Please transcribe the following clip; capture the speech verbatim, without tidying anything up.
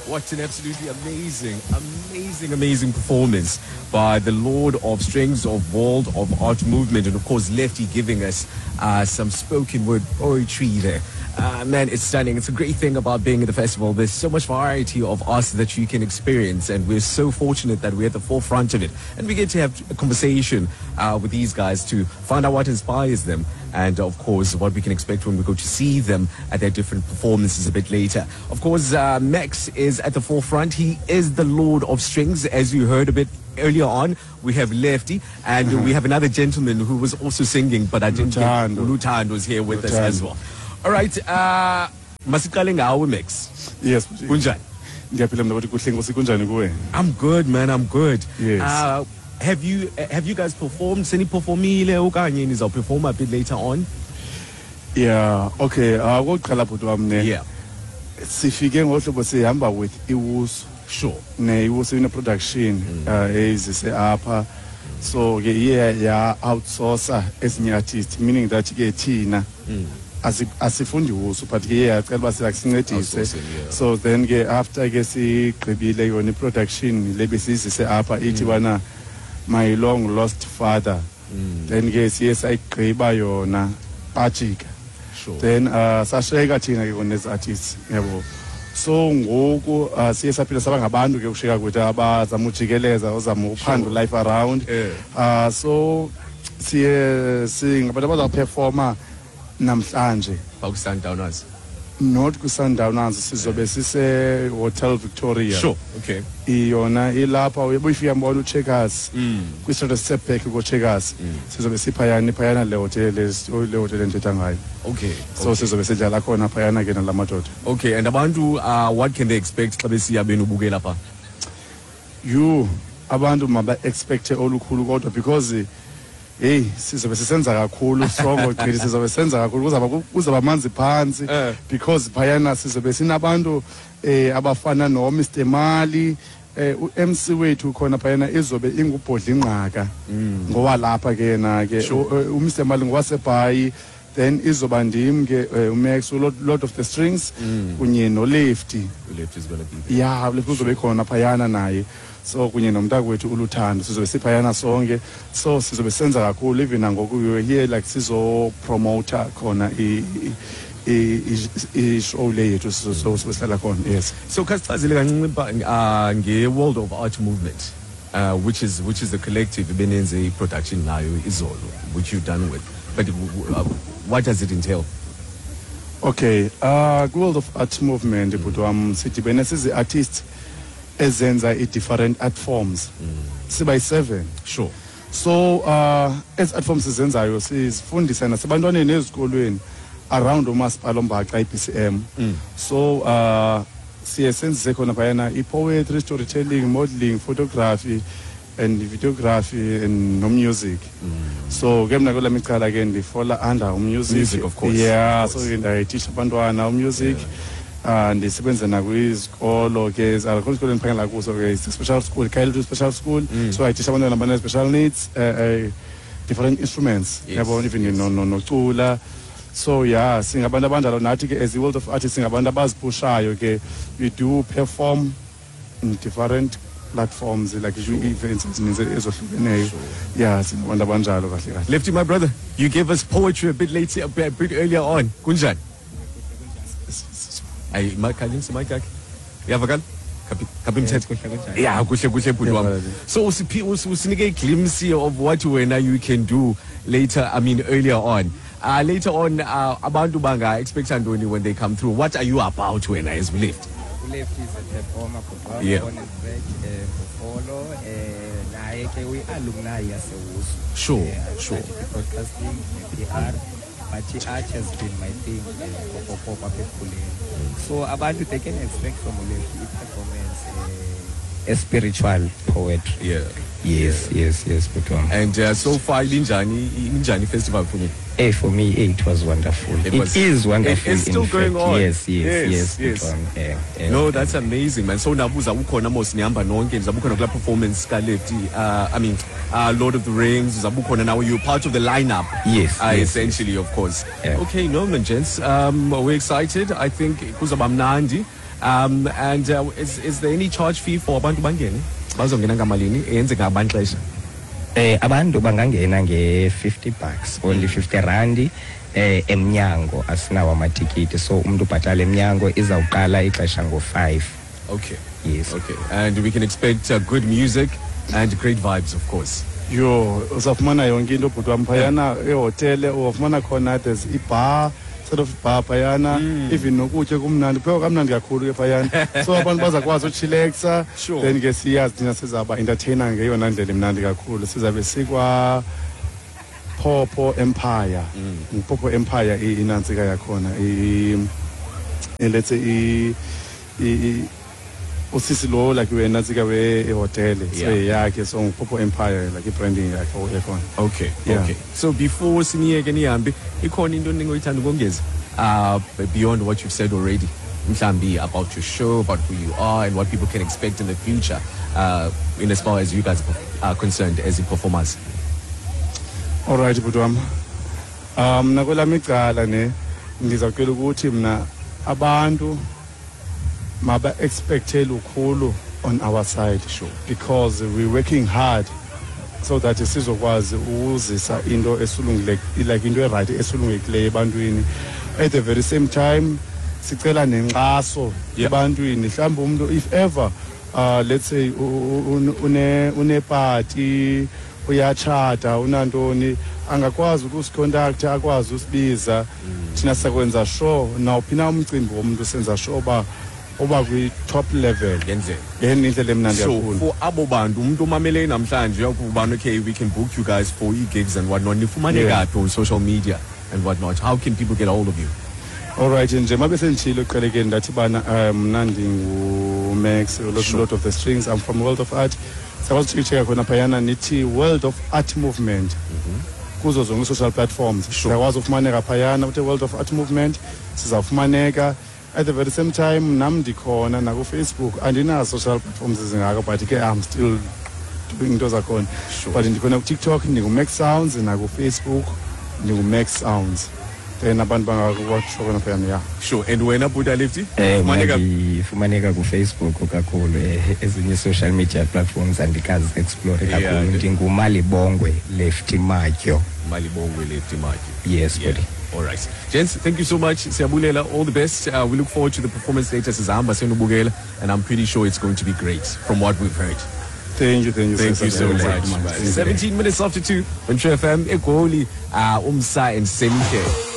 What an absolutely amazing, amazing, amazing performance by the Lord of Strings of World of Art Movement. And of course, Lefty giving us uh, some spoken word poetry there. Uh, man, it's stunning. It's a great thing about being at the festival. There's so much variety of arts that you can experience, and we're so fortunate that we're at the forefront of it. And we get to have a conversation uh, with these guys to find out what inspires them and, of course, what we can expect when we go to see them at their different performances a bit later. Of course, uh, Max is at the forefront. He is the Lord of Strings, as you heard a bit earlier on. We have Lefty, and we have another gentleman who was also singing, but I didn't get Luthando. Luthando was here with us Luthando. as well. All right, uh, masiqale ngawe Max. Yes. Kunjani? Ngiyaphila mina, kuhle, nkosi. Kunjani kuwe? I'm good, man. I'm good. Yes. Uh, have you have you guys performed? Seniperformile okanye nizawuperform a bit later on? Yeah, okay. Uh okokuqala bhuti wami ne. Yeah. Sifike ngohlobo sihamba with iWusu. Sure. Ne iWusu ine production uh ezise apha. So ke iye ya outsource ezinye artists, meaning that ke thina asi asifundi Wusu, but ke iye yacela uba sincedise. Outsourcing, yeah. So then ke after ke sigqibile yona i-production le besizise apha, ithi bana My Long Lost Father, then ke siye sayigqiba yona, bajika. Sure. Then uh sasheka thina ke kona artists, yabo. So ngoku uh, siye saphila saba ngabantu ke usheka kwethu abazama ujikeleza, ozama uphanda life around. Yeah. uh so siye singabantu abazawuperforma namhlanje. Baku Sundowners. Not ku-Sundowners, sizobe sise Hotel Victoria. Sure. Okay. Iyona ilapha uyifika mbona uCheckers, Mm. kwi-strata setback ko-Checkers. Sizobe siphayana iphayana le hotel, le hotel endithetha ngayo. Okay. So okay. sizobe sidlala khona phayana ke nala madoda. Okay, and abantu, uh, what can they expect xa besiya benubukela pha? You abantu maba-expecte olukhulu kodwa, because hey, sizobe sisenza kakhulu strong gqithi, sizobe senza kakhulu, kuzaba kuzaba manzi phantsi. Eh. Because phayana sizobe sinabantu eh abafana no Mister Mali, eh u-M C wethu khona phayana izobe ingubhodla ingqaka, ngowalapha ke yena ke. Sure. u- u Mister Mali ngowasebhayi. Then izoba ndim ke, eh, uMax, Lord, Lord of the Strings, kunye noLefty. Left is gonna be there. Ya, uLefty uzobe khona phayana naye, so kunye nomntakwethu uLuthando, sizobe siphayana sonke. So sizobe senza kakhulu. Even nangoku we were here like sizopromota khona i- i- i- i-show le yethu, so so sizobe sihlala khona, yes. So khasichazele kancinci ba- uh, nge-World of Art Movement, uh, which is which is the collective ebenenze i-production nayo izolo, which you've done with. But uh, what does it entail? Okay, uh ku-World of Art Movement, bhuti wam, sidibene sizi-artists ezenza i-different art forms, siba yi-seven. Sure. So uh ezi art forms sizenzayo sizifundisa nasebantwaneni ezikolweni around umasipala ombaxa i-B C M. So uh siye senzise khona phayana i-poetry, storytelling, modeling, photography and videography and no-music. So ke mna kwelami icala ke ndifola under umusic. Music, of course. Yeah. Of So course. ke ndayititsha abantwana umusic. uh ndisebenza nakwizikolo ke, akho isikolo endiphangela kuso ke, it's a special school, Khayelitsha Special School. So I teach abantwana abane-special needs uh, uh, different instruments. Yes, Yabo, even yes. no no nocula. So yeah, singabantu abanjalo nathi ke as the World of Artists, singabantu abaziphushayo ke. We do perform in different platforms, like events ezininzi ezohlukeneyo. Yeah, singabantu abanjalo kahle kahle. Lefty, my brother, you gave us poetry a bit later, a bit, a bit earlier on. Kunjani? Ay, makhanyisa mic yakhe. Uyavakala? Kaphi kaphi mthetho? Yeah, kuhle kuhle, bhuti wami. Yeah. So usiphi us- usinike a glimpse here of what wena you can do later, I mean earlier on. Uh, later on, uh, abantu banga expect ntoni when they come through? What are you about wena as Left? ULeft is a performer, performer, Yeah. born and bred eh Bofolo, eh naye ke uyi-alumni yaseWusu. Sure, Eh, I sure. started broadcasting, P R, but art has been my thing eh, okokoko apha ekukhuleni. So abantu, they can expect from uLeft i-performance, eh, a spiritual poetry. Yeah. yes yes yes bhuti wam. And uh, so far injani injani festival for me? Hey, for me, eh, it was wonderful. It It, was- is wonderful. It is still in going fact. on. Yes, yes, Yes, yes. yes. bhuti wam. Eh, eh, No, that's amazing, man. So nabuza ukhona mos, nihamba nonke, nizabe ukhona kula performance ka Lefty, uh, I mean, uh, Lord of the Rings, uzabe ukhona now, you're part of the lineup. Yes, Uh, yes, essentially, of course. Yeah. Okay, no man, gents. Um, we're excited. I think kuzaba mnandi. Um, and uh, is, is there any charge fee for abantu bangene? Bazongena ngamalini? Eyenzeka ngabani xesha? Eh abantu bangangena nge-fifty bucks, only fifty randi. Eh emnyango asinawo amatikiti, so umuntu ubhatala emnyango. Izawuqala ixesha ngo-five. Okay. Yes. Okay. And we can expect uh, good music and great vibes, of course. Yho, uzawufumana yonke into, bhuti wam, phayana ehotele. Uzawufumana khona, there's ibar, sort of bar phayana, even nokutya kumnandi, kuphekwa kamnandi kakhulu ke phayana, so abantu bazakwazi uchilexa. Sure. Then ke siyazi thina sizawuba entertainer ngeyona ndlela imnandi kakhulu. Sizabe sikwa Popo Empire, Popo Empire i- inantsika yakhona, i- i- let's say i- i- i- usisi lo like wenantsika wehotele, so Yeah. yakhe, so nguPopo Empire, like i-branding yakhe yakhona. Okay. Yeah. Okay. So before siniyeke nihambe, ikhona into ningoyithanda ukongeza uh beyond what you've said already? Mhlambi about your show, about who you are and what people can expect in the future, uh in as far as you guys are concerned as the performers. Alright, bhuti wam, um mna kwelam icala ne ndizawucela ukuthi mna abantu maba-expecte lukhulu on our side. Sure. Because we're working hard so that sizokwazi ukuzisa into esulungile, like into e-right esulungekileyo ebantwini. At the very same time sicela nenkxaso Yeah. ebantwini. Mhlawumbi umuntu, if ever, uh, let's say u- u- une unepati, uyatshata, unantoni, angakwazi ukusicontacta, akwazi usibiza. Thina sakwenza sure nawuphi na umcimbi womntu, senza sure uba uba kwi-top level Ngendlela. Ngendlela emnandi So kakhulu. for abo bantu, umuntu omameleyo namhlanje uyakubana, okay, we can book you guys for e-gigs and whatnot. Nifumaneka Yeah. phi on social media and whatnot? How can people get a hold of you? Alright, nje mabe senditshilo ekuqalekeni, ndathi bana um mna ndinguMax, Lord, Sure. Lord of the Strings. I'm from World of Art. Siyakwazi uchecka khona phayana, nithi World of Art Movement kuzo zonke i-social platforms. Sure. Siyakwazi ufumaneka phayana, uthi World of Art Movement, sizawufumaneka. At the very same time nam ndikhona nakuFacebook. Andinazo social platforms ezingako, but ke I'm still doing into zakhona. Sure. But ndikhona kuTikTok, ndinguMax Sounds, nakuFacebook ndinguMax Sounds. Then abantu bangakutsho khona phayana, ya. Sure. And wena, Buda Lefty? Eh mna Fumaneka- ndifumaneka kuFacebook kakhulu, eh, ezinye social media platforms andikazi explore Yeah, kakhulu. the- Ndingumalibongwe Lefty Matyo. Malibongwe Lefty Matyo. Yes, Yeah. buddy. All right. Gents, thank you so much. Siyabulela, all the best. Uh, we look forward to the performance later. Sizahamba senubukela, and I'm pretty sure it's going to be great from what we've heard. Thank you, thank you. Thank Sir. you so Thank much. you. seventeen minutes after two on True F M, Egoli, uh, Umsa and Semke.